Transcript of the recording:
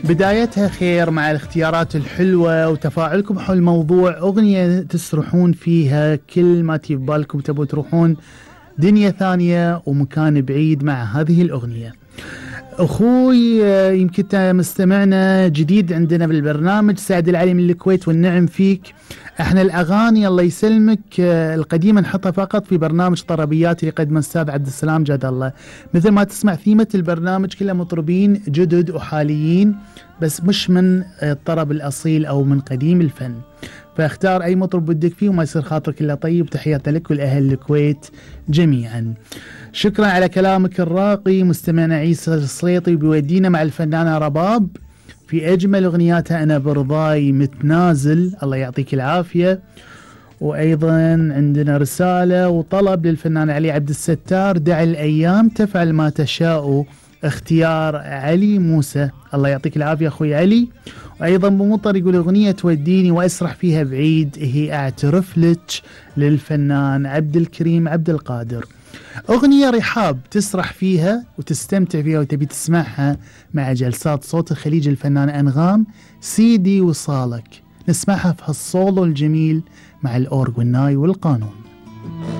بدايتها خير مع الاختيارات الحلوة وتفاعلكم حول موضوع أغنية تسرحون فيها كل ما تبالكم تبوا تروحون دنيا ثانية ومكان بعيد مع هذه الأغنية. أخوي يمكن مستمعنا جديد عندنا بالبرنامج، سعد العلي من الكويت، والنعم فيك. احنا الأغاني الله يسلمك القديمة نحطها فقط في برنامج طربيات اللي قدمه الأستاذ عبد السلام جاد الله. مثل ما تسمع ثيمة البرنامج كلها مطربين جدد وحاليين، بس مش من الطرب الأصيل أو من قديم الفن، فاختار أي مطرب بدك فيه وما يصير خاطرك إلا طيب. تحياتي لك والأهل الكويت جميعا. شكرا على كلامك الراقي. مستمعنا عيسى السليطي بيودينا مع الفنانة رباب في أجمل أغنياتها أنا برضاي متنازل، الله يعطيك العافية. وأيضا عندنا رسالة وطلب للفنان علي عبد الستار، دع الأيام تفعل ما تشاء، اختيار علي موسى، الله يعطيك العافية أخوي علي. وأيضا بمطر يقول أغنية توديني وأسرح فيها بعيد هي أعترف لك للفنان عبد الكريم عبد القادر. أغنية رحاب تسرح فيها وتستمتع فيها وتبي تسمعها مع جلسات صوت الخليج الفنان أنغام، سيدي وصالك. نسمعها في هالصولو الجميل مع الأورغ والناي والقانون.